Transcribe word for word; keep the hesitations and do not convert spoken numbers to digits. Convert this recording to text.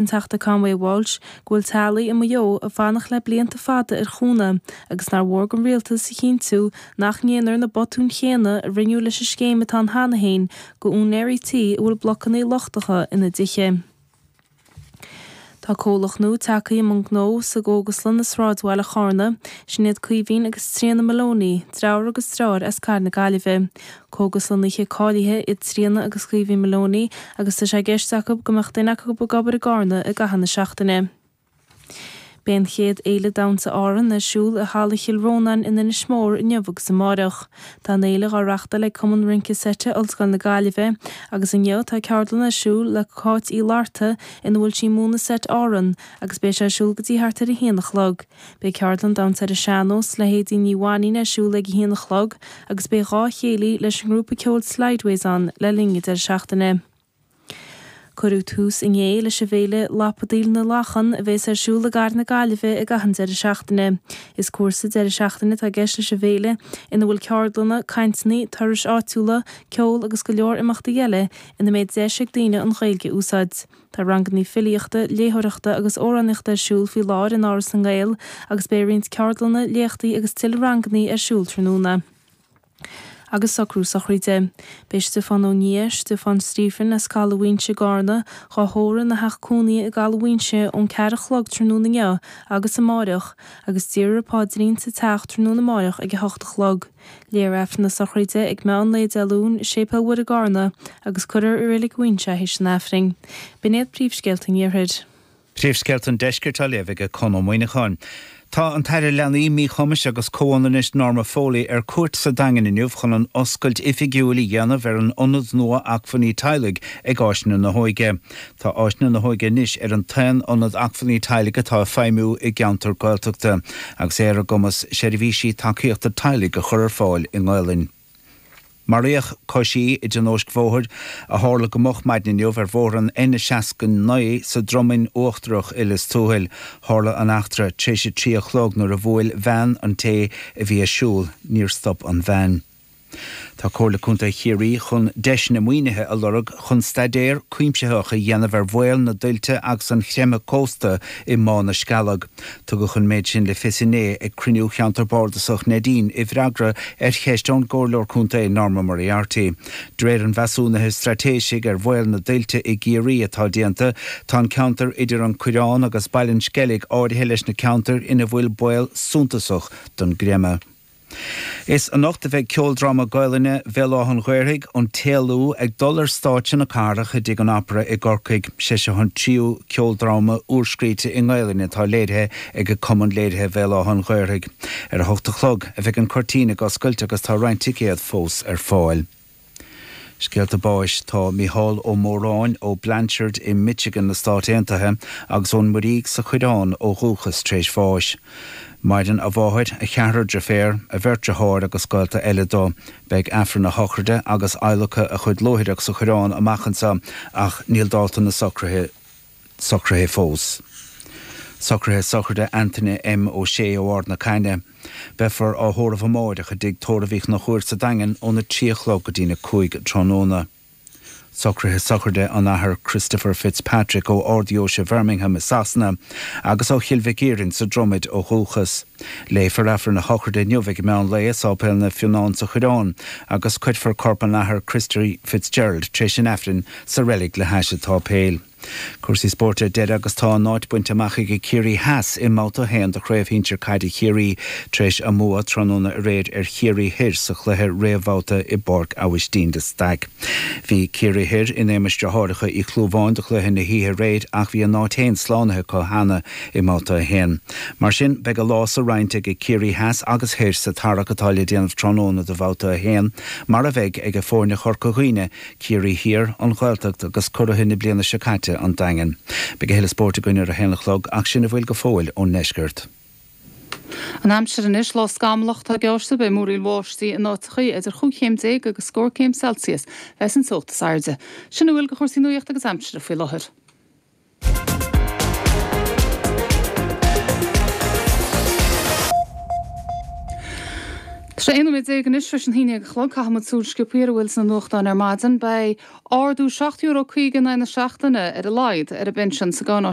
an Teachta Conway Walsh go bhfuil teaghlaigh i Maigh Eo ag fanacht le blianta fada ar chúnamh agus nár mhór don rialtas a chinntiú nach ndéanfar na botúin chéanna a rinneadh leis an scéim atá ann cheana féin do úinéirí tí a bhfuil blocanna lochtacha ina dtithe. Tá comhlacht nua tagtha i mbun gnó sa gcógaslann i sráidbhaile Charna, sin iad Caoimhín agus Tríona Moloney, deartháir agus deirfiúr as Cathair na Gaillimhe. Cógaslannaithe cáilithe iad Tríona agus Caoimhín Moloney agus tá sé i gceist acu go mbeadh duine acu ag obair i gCarna i gcaitheamh na seachtaine. Beidh an chéad Fhéile Damhsa Árann ar siúl i Halla Chill Rónáin in Inis Mór inniu agus amáireach. Tá an fhéile á reáchtáil ag Cumann Rince Seite Ollscoil na Gaillimhe agus inniu tá ceardlann ar siúl le Cáit Uí Fhlatharta ina bhfuil sí ag múineadh seit Árann agus beidh sé ar siúl go dtí thart ar a haon a chlog. Beidh ceardlann damhsa ar an sean-nós le hAedín Ní Mhainín ar siúl ag a haon a chlog agus beidh dhá chéilí leis an ngrúpa ceoil Slideways ann le linn an deireadh seachtaine. Cuireadh tús inné leis an bhféile Lapadaíl na Lachan a bheas ar siúl i gCathair na Gaillimhe i gcaitheamh an deireadh seachtaine. Is cúrsa deireadh seachtaine atá i gceist leis an bhféile ina bhfuil ceardlanna, cainteanna, turais áitiúla, ceol agus go leor imeachtaí eile ina mbeidh deis ag daoine an Ghaeilge a úsáid. Tá ranganna filíochta, léitheoireachta agus amhránaíochta ar siúl faoi láthair in Áras na nGael agus beidh roinnt ceardlanna, léachtaí agus tuilleadh ranganna ar siúl tráthnóna. Agus socrú sochraide. Beidh Stiofán Ó Nia, Stiofán Stephen as Caladh Mhaínse i gCarna, dhá thórramh ina theach cónaithe i gCaladh Mhaínse ón ceathair a chlog tráthnóna inniu agus amáireach, agus déarfar an paidrín sa teach tráthnóna amáireach ag a hocht a chlog. Léifear Aifreann na sochraide ag meán lae Dé Luain i Séipéal Mhuire i gCarna agus cuirfear i Reilig Mhaínse é théis an Aifrinn. B'in iad príomhscéalta an Iarthair. Príomhscéalta an Deiscirt á léamh ag Conn Ó Muíneacháin. Tá an tAire Leanaí, Míchumais agus Comhionannais Norma Foley ar cuairt sa Daingean inniu chun an oscailt oifigiúil a dhéanamh ar an ionad nua acmhainní teaghlaigh ag Áiseanna na hÓige. Tá Áiseanna na hÓige anois ar an t-aon ionad acmhainní teaghlaigh atá ag feidhmiú i gceantar Gaeltachta agus é ar a gcumas seirbhísí tacaíochta teaghlaigh a chur ar fáil i nGaelainn. Maraíodh coisí i dtionóisc bhóthair a tharla go moch maidin inniu ar bhóthar an N seasca naoi sa Dromainn Uachtarach i Lios Tuathail. Tharla an eachtra tar éis a trí a chlog nuair a bhuail veain an té a bhí ag siúl. Níor stop an veain. Tá Comhairle Contae Chiarraí chun deiseanna maoinithe a lorg chun staidéar cuimsitheach a dhéanamh ar bhaol na dtuilte agus an chreimthe cósta i mBá na Scealg. Tugadh an méid sin le fios inné ag cruinniú Cheantar Bardasach Neidín i bhfreagra ar cheist ón gComhairleoir Contae Norma Moriarty. De réir an mheasúnaithe straitéisigh ar bhaol na dtuilte i gCiarraí atá déanta, tá an ceantar idir an Coireán agus Baile an Sceilg áirithe leis na ceantair ina bhfuil baol suntasach don gcreimeadh. Is anocht a bheidh ceoldráma Gaelainne Bhéal Átha an Ghaorthaidh, An tÉalú, ag dul ar stáitse na cathrach i dTigh an Opera i gCorcaigh. Sé seo an tríú ceoldráma úrscríte i nGaelainn atá léirithe ag Cumann Léirithe Bhéal Átha an Ghaorthaidh. Ar a hocht a chlog a bheidh an cuirtín ag oscailt agus tá roinnt ticéad fós ar fáil. Scéalta báis Tá Mícheál Ó Móráin ó Blanchard i Michigan na Stát Aontaithe agus ón Muirígh sa Choireán ó dhúchas tar éis bháis. Maireann a mháthair, a cheathrar deirféar, a bheirt deartháir agus gaolta eile dó. Beidh Aifreann a shochraide agus adhlacadh a chuid luaithreach sa Choireán amach anseo ach níl dáta na socruithe socraithe fós. Socruithe sochraide Antaine M. Ó Sé ó Ard na Caithne. Beifear á thórramh amáireach i dTigh Tórraimh Uí Chonchúir sa Daingean óna trí a chlog go dtína cúig tráthnóna. Socruithe sochraide an Athar Christopher Fitzpatrick ó Ard-Dheoise Bhirmingham i Sasana agus ó Chill Mhic Iarainn sa Dromaid ó dhúchas. Léifear Aifreann a shochraide inniu ag meán lae i Sáipéal Naomh Fionán sa Choireán agus cuirfear corp an Athar Christy Fitzgerald tar éis an Aifrinn sa reilig le hais an tsáipéil. Cúrsaí spóirt ar deireadh agus tá a n-áit bainte amach ag Ciarraí Theas i mbabhta a haon de Chraobh Shinsir Caide Chiarraí tar éis a mbua tráthnóna aréir ar Chiarraí Thoir sa chluiche réamhbhabhta i bPáirc Aibhistín de Staic. Bhí Ciarraí Thoir in éagmais deartháireacha Uí Chlúmháin do chluiche na hoíche aréir ach bhí a n-áit féin slánaithe acu cheana i mbabhta a haon. Mar sin, beidh a lá sa roinnt ag Ciarraí Theas agus Thoir sa tarrac atá le déanamh tráthnóna do bhabhta a haon, mar a bheidh ag foirne Chorca Dhuibhne, Ciarraí Thiar, an Ghaeltacht agus curaithe na bliana seo caite, an Daingean. Beidh a thuilleadh spóirt againn ar a haon a chlog ach sin a bhfuil go fóill ón ndeisceart. An aimsir anois, lá scamallach atá geallta, beidh múraíl bháistí in áiteachaí, idir chúig chéim déag agus scór céim Celsius bheas an teocht is airde. Sin a bhfuil de chúrsaí nuachta agus aimsire faoi láthair. Tar Sé aon nóiméad déag anois tar éis an haon déag a chlog caithfidh muid súil sciobtha ar a bhfuil sna nuachtáin ar maidin. Beidh ardú seacht euro caoga in aghaidh na seachtaine ar a laghad ar an bpinsean sa gcáináisnéis.